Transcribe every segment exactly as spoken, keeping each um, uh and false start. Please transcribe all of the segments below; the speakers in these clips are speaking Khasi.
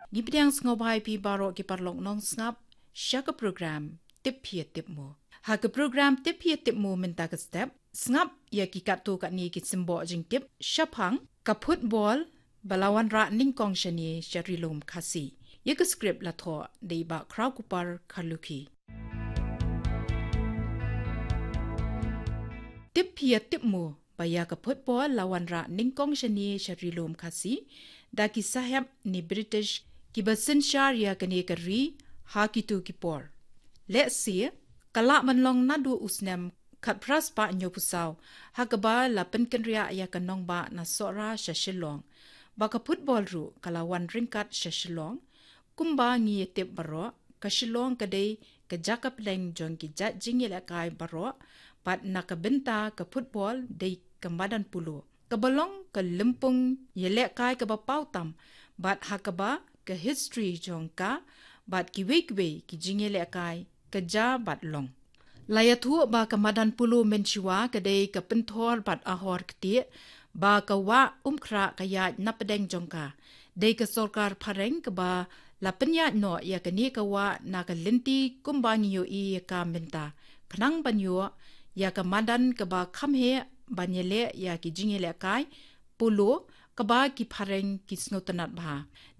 Ngi pdiang sngewbha ïa phi baroh ki paralok nongsngap sha ka program Tip Phi Tip Mo. Ha ka program Tip Phi Tip Mo mynta ka step, sngap ïa ki katto katne ki symboh jingtip shaphang ka football ba la wanrah nyngkong shane sha Ri Lum Khasi. Ïa ka script la thoh da i Bah Khrawkupar Kharlukhi. Tip Phi Tip Mo ba ïa ka football la wanrah nyngkong shane sha Ri Lum Khasi da ki sahep ne British kiba synshar ïa kane ka ri ha kito ki por. Lehse ka la man long naduh u snem khatphra spah hynñiewphew saw, ha kaba la pynkynriah ïa ka nongbah na Sohra sha Shillong, ba ka football ruh ka la wan ryngkat sha Shillong. Kumba ngi ïa tip baroh, ka Shillong ka dei ka jaka pdeng jong ki jait jingïalehkai baroh, bad na ka bynta ka football dei ka madan polo, kaba long ka lympung ïalehkai kaba paw tam, bad ha kaba ka history jong ka bad kiwei kiwei ki jingïalehkai ka jia bad long. La ïathuh ba ka madan polo mynshuwa ka dei ka pynthor bad ahor ktieh, ba ka wah Umkhrah ka ïaid na pdeng jong ka. Dei ka sorkar phareng kaba la pynïaid noh ïa kane ka wah na ka lynti kumba ngi ïohi ïa ka mynta, khnang ban ïoh ïa ka madan kaba kham heh ban ïaleh ïa ki jingïalehkai polo kaba ki phareng ki sngewtynnat bha.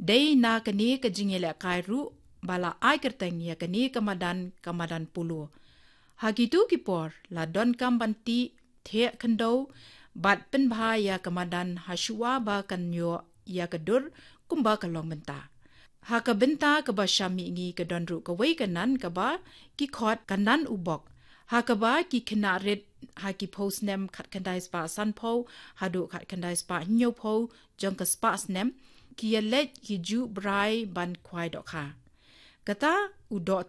Dei na kane ka jingïalehkai ruh ba la ai kyrteng ïa kane ka madan ka madan polo. Ha kito ki por la donkam ban tih, theh khyndew bad pynbha ïa ka madan hashuwa ba kan ïoh ïa ka dur kumba ka long mynta. Ha ka bynta kaba sham mihngi ka don ruh kawei ka nan kaba ki khot ka nan u bok, ha kaba ki khynnah rit ha ki phew snem khatkhyndai spah sanphew haduh khatkhyndai spah hynñiewphew jong ka spah snem ki ïaleit ki ju brai ban khwai dohkha. Kata u doh